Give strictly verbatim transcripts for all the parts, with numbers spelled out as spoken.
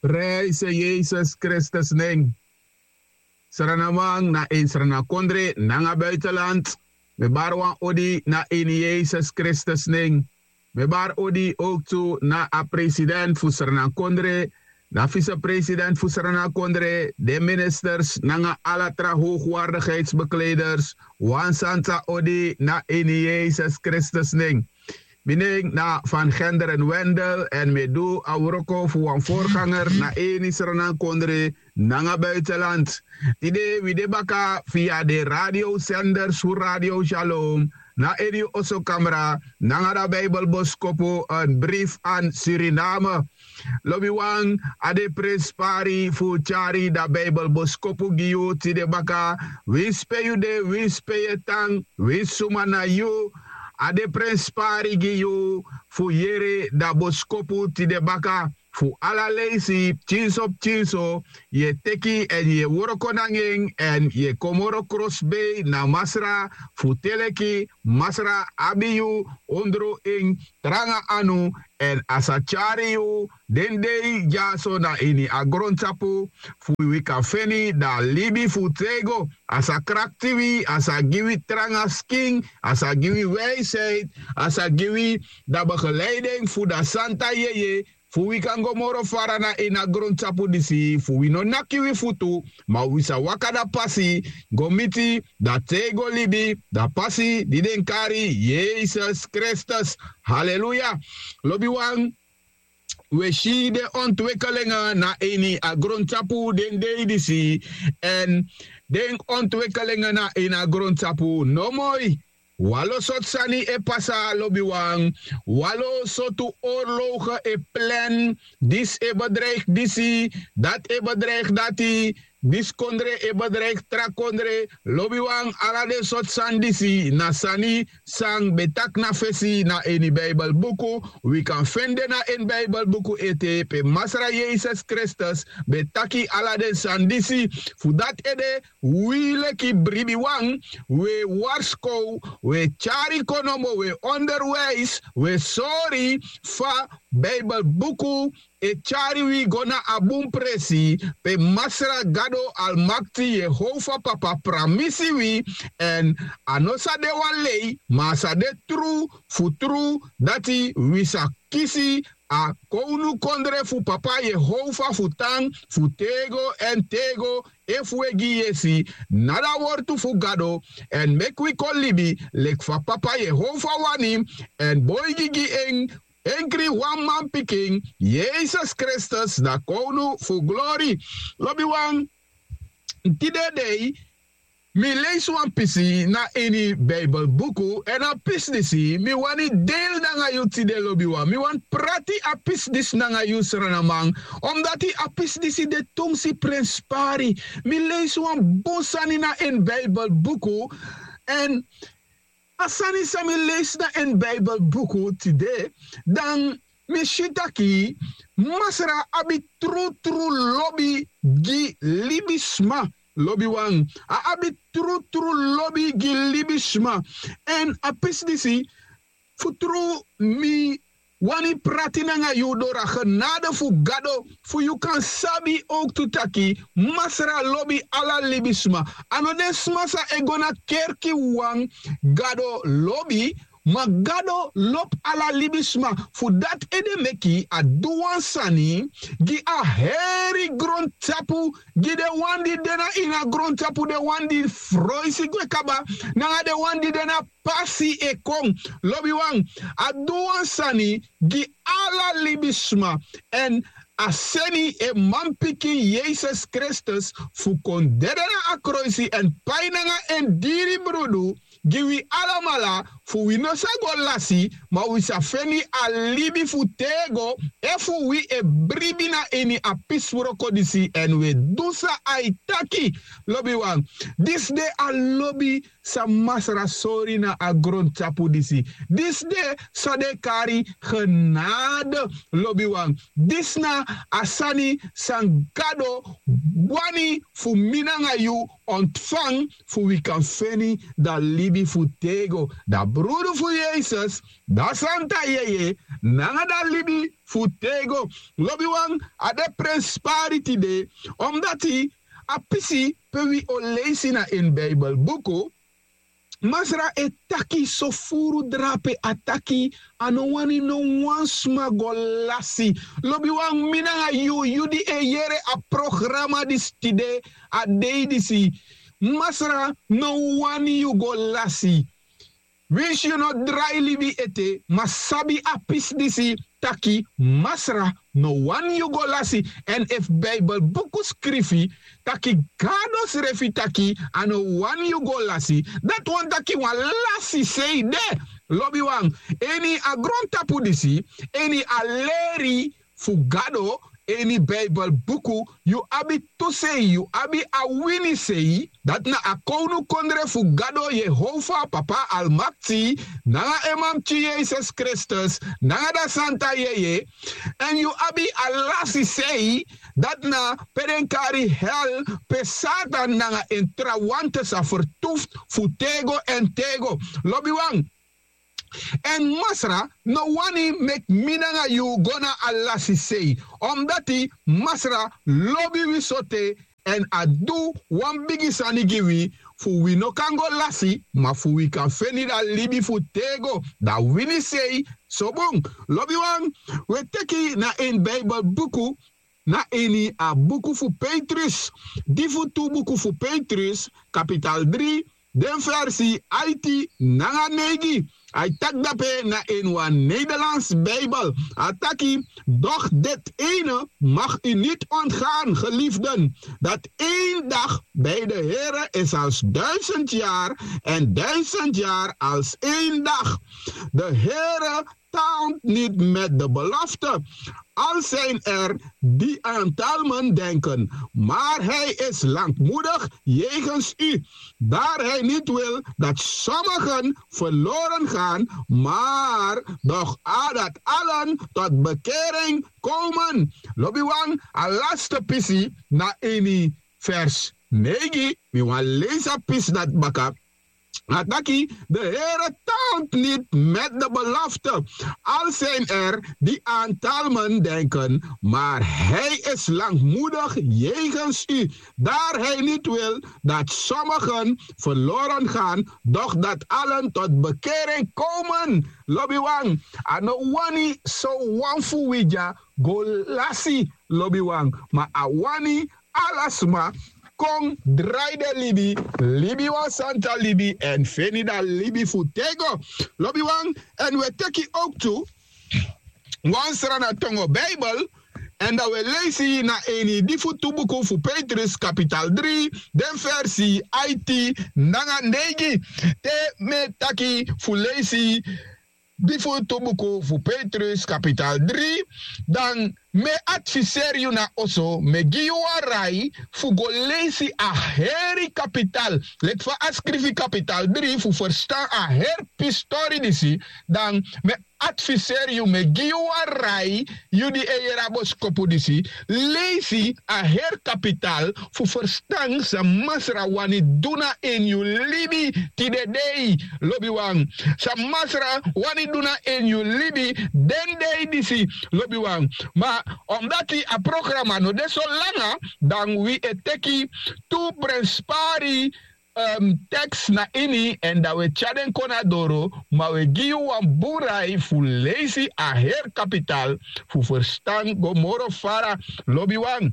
Prijse yesus kristus nen. Sranaman na ini sranakondre nanga buitenland. Mi bari wan odi na ini yesus kristus nen. Mi bari odi ook tu na a president fu sranakondre, na visepresident fu sranakondre, den ministers nanga ala tra hoogwaardigheidsbekleders. Wan santa odi na ini yesus kristus nen. Mi nen na van genderen wendel èn mi e du a wroko fu wan voorganger na ini sranankondre nanga buitenland. Tide wi de baka via den radiosenders fu radio shalom na ini yu osokamra nanga dan bijbelboskopu en brief an suriname. Lobiwan, a de prenspari fu tyari dan bijbelboskopu gi yu tide baka. Winsi pe yu de, winsi pe yu e tan, winsi suma na yu, a de prenspari gi yu fu yere dan boskopu tide baka. Fu ala leisi pikinso pikinso yu e teki èn yu e wroko nanga en èn yu e kon moro krosbei na masra fu te leki masra abi yu ondro en tranga anu. Èn a sa tyari yu den dei dyaso na ini a grontapu fu wi kan feni dan a libi fu tego. A sa krakti wi, a sa gi wi tranga skin, a sa gi wi wijsheid, a sa gi wi dan begeleiding fu dan santa yeye fu wi kan go moro fara na ini a grontapu disi fu wi no naki wi futu, ma wi sa waka dan pasi go miti dan tego libi, dan pasi di den kari yesus kristus. Haleluya. Lobiwan, wi e si den ontwekelingi na ini a grontapu den dei disi. Èn den ontwekelingi na ini a grontapu no moi. Wan lo sortu sani e pasa lobiwan. Wan lo sortu orloge e plan. Disi e bedreigi disi, dati e bedreigi dati. Disi kondre e bedreigi tra kondre. Lobiwan, ala den sortu sani disi na sani san ben taki na fesi na ini bibelbuku. Wi kan feni den na ini bibelbuku ete pe masra yesus kristus ben taki ala den sani disi. Fu dati ede wi leki bribiwan, wi e warskow, wi e tyari konomo, wi e onderwijs, wi e sori fa bibelbuku e tyari wi go na a bun presi pe masra gado almakti yehova papa pramisi wi. Èn a no sa de wan lei, ma a sa de tru fu tru dati wi sa kisi a kownukondre fu papa yehova fu tan fu tego èn tego. Efu wi e gi yesi na dan wortu fu gado èn meki wi kon libi leki fa papa yehova wani èn boigi gi en enkri wan manpikin, yesus kristus na kownu fu glori. Lobiwan, tide dei mi leisi wan pisi na ini bibelbuku èn a pisi disi mi wani deili nanga yu tide lobiwan. Mi wani prati a pisi disi nanga yu sranaman, omdati a pisi disi de tumsi prenspari. Mi leisi wan bun sani na ini bibelbuku. Èn a sani san mi leisi na ini bibelbuku tide, dan mi si taki masra abi trutru lobi gi libisma. Lobiwan, a abi trutru lobi gi libisma. Èn a pisi disi fu tru mi wani prati nanga yu doro a genade fu gado fu yu kan sabi owktu taki masra lobi ala libisma. A no den sma san e go na kerki wawan gado lobi, ma gado lobi ala libisma. Fu dati ede meki a du wan sani gi a heri grontapu, gi den wan di de na ini a grontapu, den wan di froisi gwe kaba nanga den wan di de na pasi e kon. Lobiwan, a du wan sani gi ala libisma. Èn a seni en manpikin yesus kristus fu kon dede na a kroisi èn pai nanga en diri brudu gi wi alamala, fu wi no sa go lasi ma wi sa feni a libi fu tego efu wi e bribi na ini a pisi wroko disi èn wi e du san a e taki. Lobiwan, disi de a lobi san masra sori na a grontapu disi. Disi de san den e kari genade. Lobiwan, disi na a sani san gado wani fu mi nanga yu ontfan fu wi kan feni dan libi fu tego, dan brudu fu yesus, dan santa yeye, nanga dan libi fu tego. Lobiwan, a de prenspari tide, omdati a pisi pe wi o leisi na ini bibelbuku, Masra e taki so furu drape, a taki a no wani no wan sma go lasi. Lobiwan, mi nanga yu, yu di e yere a programa disi tide, a dei disi, Masra no wani yu go lasi. Winsi yu no drai libi ete, ma sabi a pisi disi, taki Masra no wani yu go lasi. Èn efu bibelbuku skrifi taki Gado srefi taki a no wani yu go lasi, dati wani taki wan lasi sei de. Lobiwan, ini a grontapu disi, ini a leri fu Gado, ini bibelbuku, yu abi tu sei, yu abi a wini sei. Dati na a kownukondre fu Gado Yehova, Papa Almakti, nanga en Mamti Yesus Kristus, nanga dan Santa Yeye. Èn yu abi a lasi sei, dati na pe den kari hel, pe Satan nanga en trawan sa fertufu fu tego èn tego. Lobiwan, èn Masra no wani meki mi nanga yu go na a lasi sei. Omdati Masra lobi wi sote, èn a du wan bigi sani gi wi, fu wi no kan go lasi, ma fu wi kan feni dan libi fu tego, dan wini sei. So bun, lobiwan, wi e teki na ini bibelbuku, na ini a buku fu Petrus, di fu tu buku fu Petrus, kapital dri, den versi aiti nanga neigi. A e taki dape na ini wan Nederlands Bijbel. A taki: Doch dit ene mag u niet ontgaan, geliefden, dat één dag bij de Here is als duizend jaar en duizend jaar als één dag. De Here taalt niet met de belofte, al zijn er die aan talmen denken, maar hij is langmoedig jegens u, daar hij niet wil dat sommigen verloren gaan, maar doch a- dat allen tot bekering komen. Lobiwan, a laste pisi na ini vers neigi, mi wani leisi a pisi dati baka. A taki: De Here taalt niet met de belofte, al zijn er die aan talmen denken, maar hij is langmoedig jegens u, daar hij niet wil dat sommigen verloren gaan, doch dat allen tot bekering komen. Lobiwan, a no wani so wan fu wi dya go lasi, lobiwan, ma a wani ala sma kon drai den libi, libi wan santa libi, èn feni dan libi fu tego. Lobiwan, èn wi e teki owktu wan srana tongo Bijbel, èn dan wi e leisi na ini di fu tu buku fu Petrus, kapital dri, den versi aiti nanga neigi. Te mi e taki fu leisi di fu tu buku fu Petrus, kapital dri, dan mi e adviseri yu na oso, mi e gi yu wan rai fu go leisi a heri kapital. Leki fa a skrifi kapital dri, fu ferstan a heri pisi tori disi, dan mi e adviseri yu, mi e gi yu wan rai, yu di e yere a boskopu disi, leisi a heri kapital fu ferstan san Masra wani du na ini yu libi tide dei, lobiwan. San Masra wani du na ini yu libi den dei disi, lobiwan. Ma omdati a programa no de so langa, dan wi e teki tu prenspari, em, teks na ini, èn dan wi e tyari den kon na doro, ma wi e gi yu wan bun rai fu leisi a heri kapital fu ferstan go moro fara, lobiwan.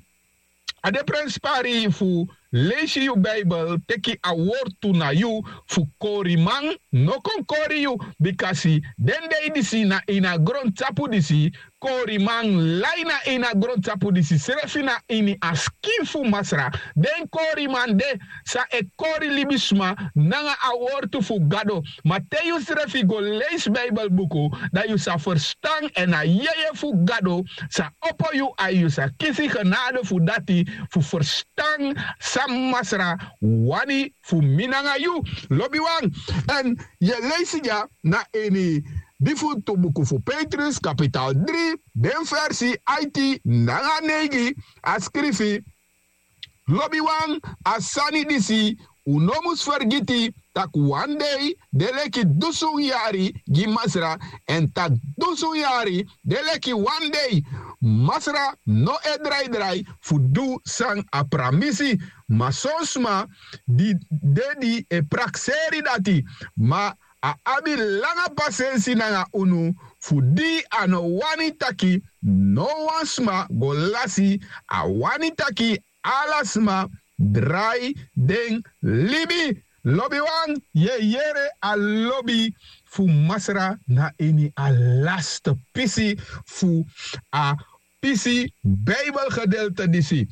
A de prenspari fu leisi yu Bijbel, teki a wortu na yu fu koriman no kon kori yu, bikasi den dei disi na ini a grontapu disi, koriman lai na ini a grontapu disi srefi, na ini a skin fu Masra. Den koriman de san e kori libisma nanga a wortu fu Gado. Ma te yu srefi go leisi Bijbelbuku, dan yu sa ferstan, èn a yeye fu Gado sa opo yu ai, yu sa kisi genade fu dati, fu ferstan san Masra wani fu mi nanga yu, lobiwan. Èn yu e leisi dya na ini di fu tu buku fu Petrus, kapital dri, den versi aiti nanga neigi, a skrifi: Lobiwan, a sani disi Un no mus fergiti tak' wan dei de leki dusun yari gi Masra, èn tak' dusun yari de leki wan dei. Masra no e draidrai fu du san a pramisi. Ma son sma di de di e prakseri dati, ma a abi langa pasensi nanga unu, fu di a no wani taki no wan sma go lasi. A wani taki ala sma drai den libi. Lobiwan, yu e yere a lobi fu Masra na ini a laste pisi fu a pisi Bijbelgedeelte disi.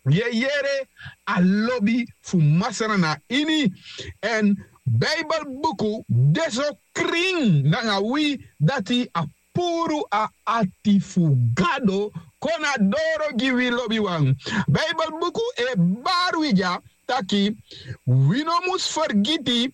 Yu e yere a lobi fu Masra na ini. Èn Bijbelbuku de so krin nanga wi, dati a puru a ati fu Gado kon na doro gi wi, lobiwan. Bijbelbuku e bari wi dya taki wi no mus fergiti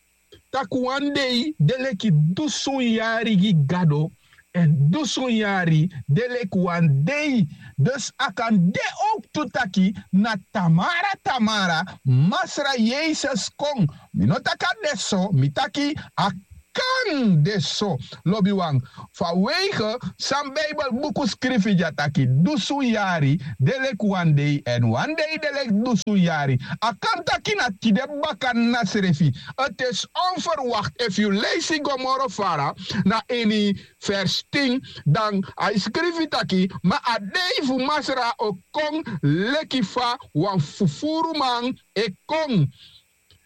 tak' wan dei de leki dusun yari gi Gado, èn dusun yari de leki wan dei. Dus a kan de owktu taki na tamara tamara Masra Yesus kon. Mi no taki a de so, mi taki a kan de so, lobiwan. Fa weige san Bijbelbuku skrifi dya taki dusun yari de leki wan dei, èn wan dei de leki dusun yari. A kan taki na tide baka na srefi. Ete si onverwacht, efu yu leisi go moro fara na ini vers tin, dan a e skrifi taki, ma a dei fu Masra o kon leki fa wan fufuruman e kon.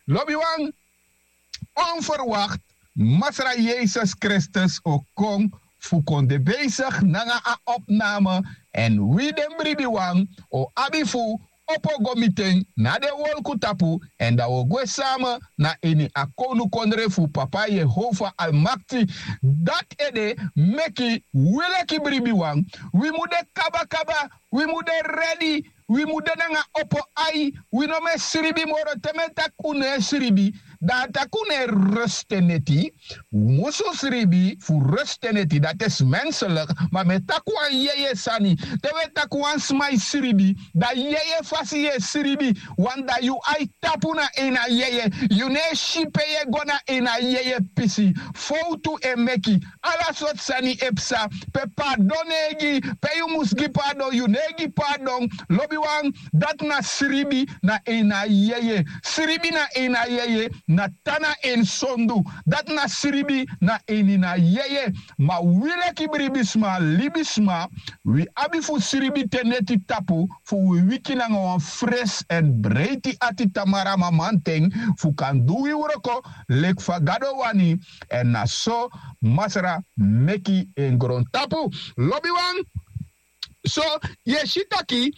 Lobiwan, onverwacht Masra Yesus Kristus o kon fu kon de bezig nanga a opname, èn wi den bribiwan o abi fu opo go miti en na den wolku tapu, èn dan wi o gwe same na ini a kownukondre fu Papa Yehova Almakti. Dati ede meki wi leki bribiwan, wi mu de kabakaba, wi mu de redi, wi mu de nanga opo ai. Wi no mu e sribi moro. Te mi e taki un no e sribi, dan a taki un no e reste neti. Un musu sribi fu reste neti, dati e si menselik. Ma mi e taki wan yeye sani. Te wi e taki wan sma e sribi, dan yeye fasi yu e sribi. Wan, dan yu ai tapu na ini a yeye. Yu no e si pe yu e go na ini a yeye pisi. Fowtu e meki. Ala sortu sani e psa. Pe pardon no e gi, pe yu mus gi pardon, yu no e gi pardon. Lobiwan, dati na sribi na ini a yeye. Sribi na ini a yeye na tan na ini sondu. Dati na sribi na ini a yeye. Ma wi leki bribisma, libisma, wi abi fu sribi te neti tapu, fu wi wiki nanga wan fresi èn breiti ati tamara mamanten, fu kan du wi wroko leki fa Gado wani. Èn na so Masra meki en grontapu. Lobiwan, so yu e si taki,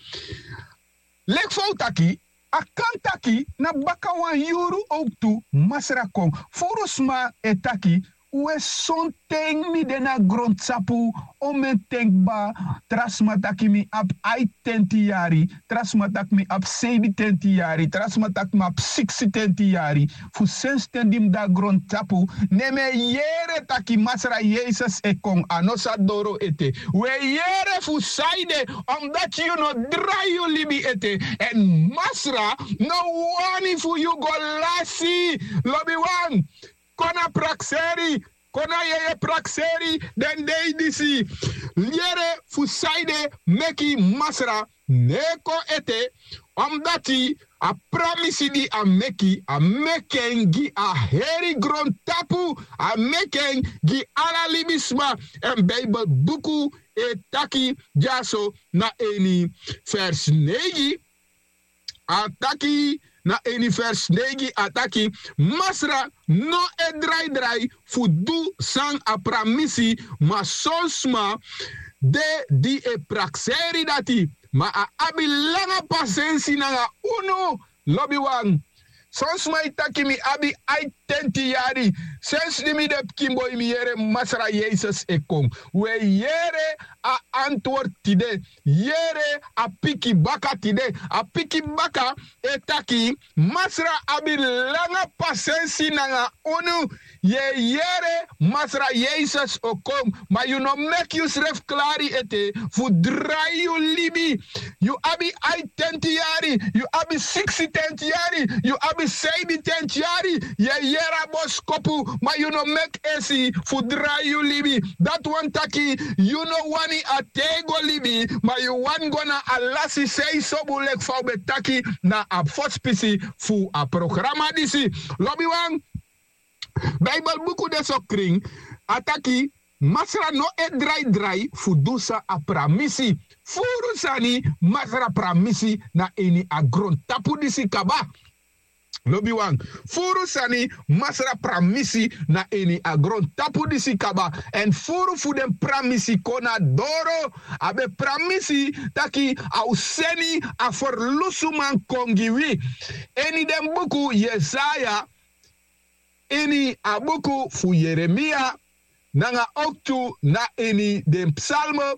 leki fa un taki, a kan taki na baka wan yuru owktu Masra kon. Furu sma e taki, we sonten mi de na grontapu, o mi e ten kba. Tra sma taki mi abi aitenti yari, tra sma taki mi abi seibitenti yari, tra sma taki mi abi siksitenti yari. Fu sensi ten di mi de na grontapu, ne mi e yere taki Masra Yesus e kon, a no sa doro ete. Wi e yere fu sanede, omdati yu no drai yu libi ete. Èn Masra no wani fu yu go lasi. Lobiwan, kon na prakseri, kon na yeye prakseri den dei disi. Yere fu sanede meki Masra no e kon ete, omdati a pramisi di a meki, a meki en gi a heri grontapu, a meki en gi ala libisma. Èn Bijbelbuku e taki dyaso na ini vers neigi, a taki, na ini vers neigi a taki, Masra no e draidrai fu du san a pramisi, ma son sma de di e prakseri dati, ma a abi langa pasensi nanga unu. Lobiwan, son sma e taki mi abi aitenti yari, Sensi di mi de pikin boi mi yere Masra Yesus e kon. Wi e yere a antwortu tide. Yere a piki baka tide. A piki baka e taki: Masra abi langa pasensi nanga unu. Yu e yere Masra Yesus o kon, ma yu no meki yusrefi klari ete fu drai yu libi. Yu abi aitenti yari, yu abi siksitenti yari, yu abi seibitenti yari. Yu e yere a boskopu, ma yu no meki esi fu drai yu libi. Dati wani taki yu no wani a tego libi, ma yu wani go na a lasi sei sobun leki fa un ben taki na a fosi pisi fu a programa disi. Lobiwan, Beibel buku de so krin, a taki: Masra no e draidrai fu du san a pramisi. Furu sani Masra pramisi na ini a grontapu disi kaba. Lobiwan, furu sani Masra pramisi na ini a grontapu disi kaba. Èn furu fu den pramisi kon na doro. A ben pramisi taki a o seni a ferlusuman kon gi wi. Ini den buku Yesaya, ini a buku fu Yeremia, nanga owktu na ini den psalme,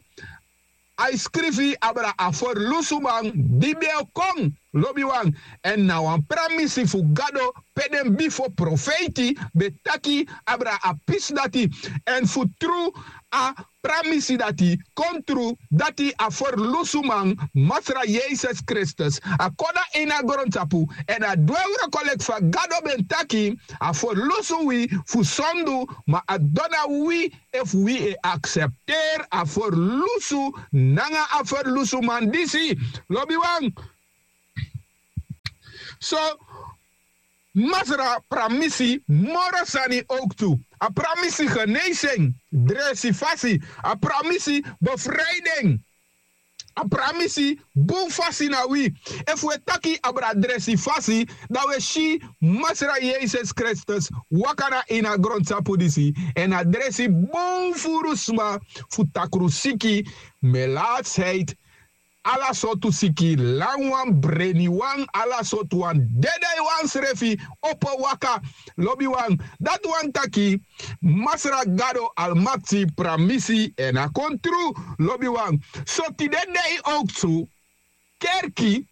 a e skrifi abra a ferlusuman di ben o kon. Lobiwan, èn na wan pramisi fu Gado pe den bifo profeiti ben taki abra a pisi dati. Èn fu tru a pramisi dati kon tru, dati a ferlusuman, Masra Yesus Kristus, a kon na ini a grontapu èn a du en wroko leki fa Gado ben taki. A ferlusu wi fu sondu, ma a dona wi efu wi e aksepteri a ferlusu nanga a ferlusuman disi. Lobiwan, so Masra pramisi moro sani owktu. A pramisi geneisi en, dresi fasi. A pramisi befrei den. A pramisi bun fasi na wi. Efu wi e taki abra dresi fasi, dan wi e si Masra Yesus Kristus waka na ini a grontapu disi èn a dresi bun furu sma, fu takru siki, melatsheid, ala sortu siki, lanwan, breniwan, ala sortu wan, dedeiwan srefi opo waka. Lobiwan, dati wani taki Masra Gado Almakti pramisi èn a kon tru. Lobiwan, so tide dei owktu kerki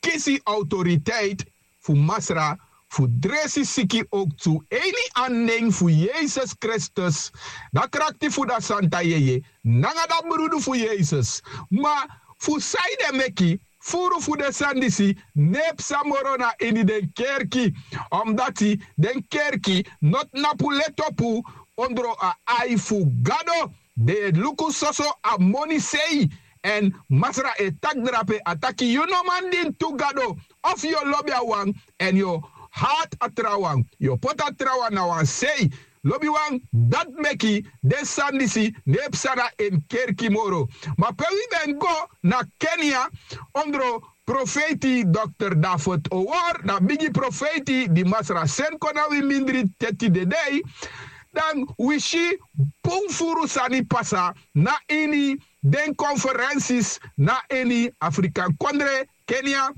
kisi autoriteit fu Masra fu dresi siki owktu ini a nen fu Yesus Kristus, dan krakti fu dan santa yeye nanga dan brudu fu Yesus. Ma fu sanede meki furu fu den sani disi no e psa moro na ini den kerki? Omdati den kerki no tnapu letopu ondro a ai fu Gado. Den e luku soso a moni sei. Èn Masra e taki drape, a taki: Yu no man dini tu gado. Efu yu o lobi a wan èn yu o hati a trawan, yu o poti a trawan na wan sei. Lobiwan, dati meki den sani disi no e psa na en kerki moro. Ma pe wi ben go na Kenia ondro profeiti dokter David Owor, na bigi profeiti di Masra seni kon na wi mindri te tide dei, dan wi si bun furu sani pasa na ini den konferensis na ini Afrikan kondre, Kenia,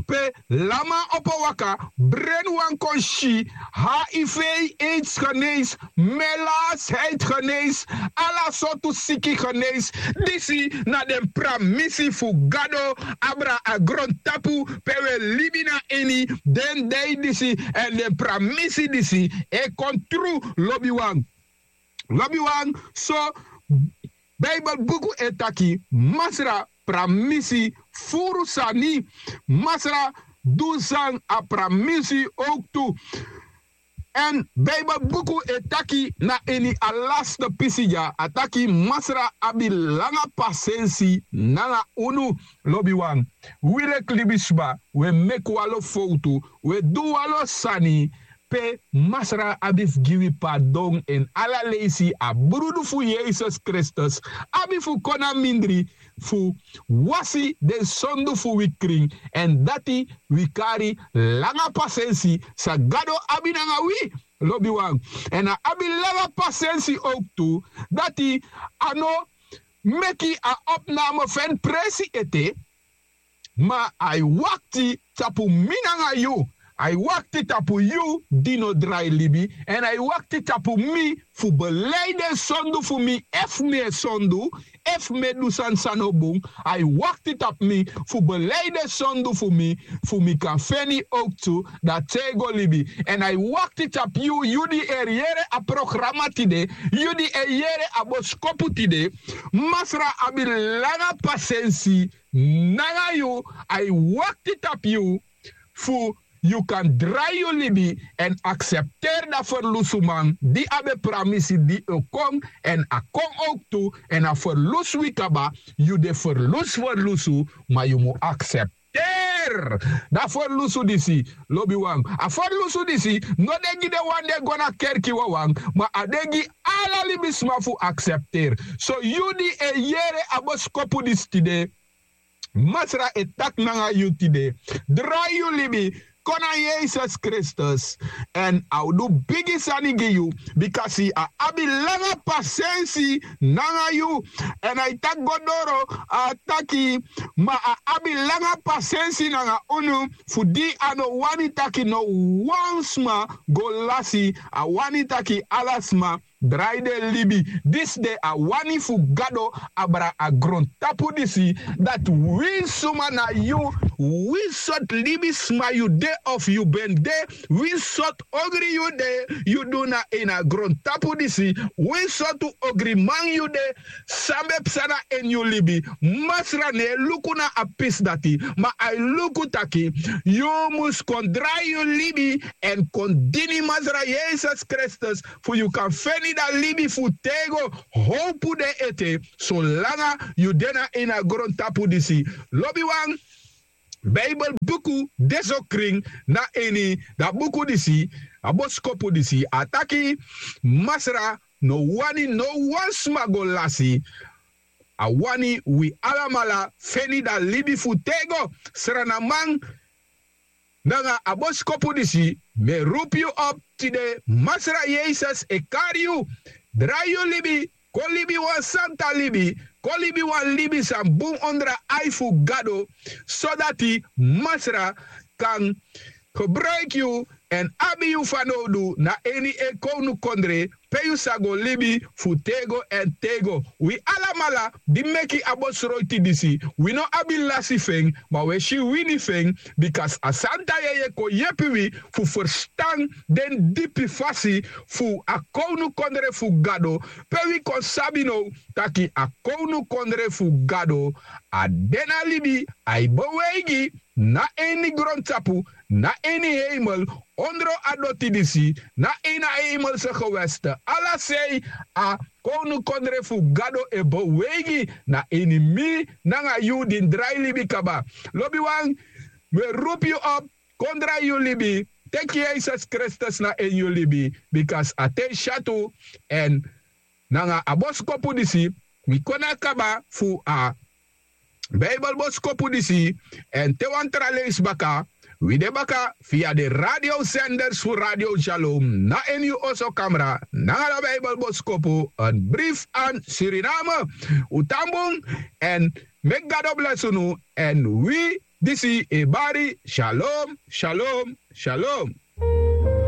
pe lanman opo waka, brenwan kon si, H I V, aids genees, melatsheid genees, ala sortu siki genees. Disi na den pramisi fu Gado abra a grontapu pe wi e libi na ini den dei disi. Èn den pramisi disi e kon tru, lobiwan. Lobiwan, so Beibel buku e taki Masra pramisi furu sani. Masra du san a pramisi owktu. Èn Beibel buku e taki na ini a laste pisi dya, a taki Masra abi langa pasensi nanga unu. Lobiwan, wi leki libisma, wi e meki wan lo fowtu, wi e du wan lo sani pe Masra abi fu gi wi pardon. Èn ala leisi a brudu fu Yesus Kristus abi fu kon na mindri fu wasi den sondu fu wi krin. Èn dati wi kari langa pasensi san Gado abi nanga wi, lobiwan. Èn a abi langa pasensi owktu, dati a no meki a opname feni presi ete, ma a e wakti tapu mi nanga yu. A e wakti tapu yu di no drai libi, èn a e wakti tapu mi fu belei den sondu fu mi, efu mi e sondu, efu mi e du sani san no bun. A e wakti tapu mi fu belei den sondu fu mi, fu mi kan feni owktu dati tego libi. Èn a e wakti tapu yu, yu di e yere a programa tide, yu di e yere a boskopu tide. Masra abi langa pasensi nanga yu, a e wakti tapu yu fu yu kan drai yu libi èn aksepteri dan ferlusuman di a ben pramisi di o kon, èn a kon owktu, èn a ferlusu wi kaba. Yu de ferlusu ferlusu, ma yu mu aksepteri dan ferlusu disi. Lobiwan, a ferlusu disi no de gi den wan di e go na kerki wawan, ma a de gi ala libisma fu aksepteri. So yu di e yere a boskopu disi tide, Masra e taki nanga yu tide: drai yu libi, kon na Yesus Kristus, èn a o du bigi sani gi yu, bikasi a abi langa pasensi nanga yu. Èn a e taki go doro, a taki: Ma a abi langa pasensi nanga unu, fu di a no wani taki no wan sma go lasi, a wani taki ala sma drai den libi. Disi de a wani fu Gado abra a grontapu disi, dati winsi suma na yu, winsi sortu libisma yu de of yu ben de, winsi sortu ogri yu de, yu du na ini a grontapu disi, winsi sortu ogriman yu de, san ben psa na ini yu libi, Masra no e luku na a pisi dati, ma a e luku taki yu mus kon drai yu libi èn kon dini Masra Yesus Kristus, fu yu kan feni dan libi fu tego. Howpu de ete solanga yu de na ini a grontapu disi. Lobiwan, Beibel buku de so krin na ini dan buku disi, a boskopu disi, a taki: Masra no wani no wan sma go lasi. A wani wi alamala feni dan libi fu tego. Sranaman, nanga a boskopu disi, mi e rupu yu op tide, Masra Yesus e kari yu. Drai yu libi, kon libi wan santa libi, kon libi wan libi san bun ondro a ai fu Gado, sodati Masra kan gebruiki yu èn abi yu fanowdu na ini en kownukondre, pe yu sa go libi fu tego èn tego. Wi alamala di meki a bosroiti disi, wi no abi lasi fu en, ma wi e si wini fu en, bikasi a santa yeye kon yepi wi fu ferstan den dipi fasi fu a kownukondre fu Gado, pe wi kon sabi now taki a kownukondre fu Gado a de na libi, a e beweigi na ini grontapu, na ini heimel, ondro a doti disi, na ini a heimelse geweste. Ala sei a kownukondre fu Gado e beweigi na ini mi nanga yu di drai libi kaba. Lobiwan, mi e rupu yu op, kon drai yu libi, teki Yesus Kristus na ini yu libi, bikasi a ten syatu èn nanga a boskopu disi, wi kon na kaba fu a Beibel boskopu disi, èn te wan tra leisi baka, wi de baka via de radiosenders fu Radio Shalom, na ini yu oso kamra, nanga da Beibel boskopu, een brief aan Suriname. Un tan bun, èn meki Gado blesi unu, èn wi disi e bari, shalom, shalom, shalom.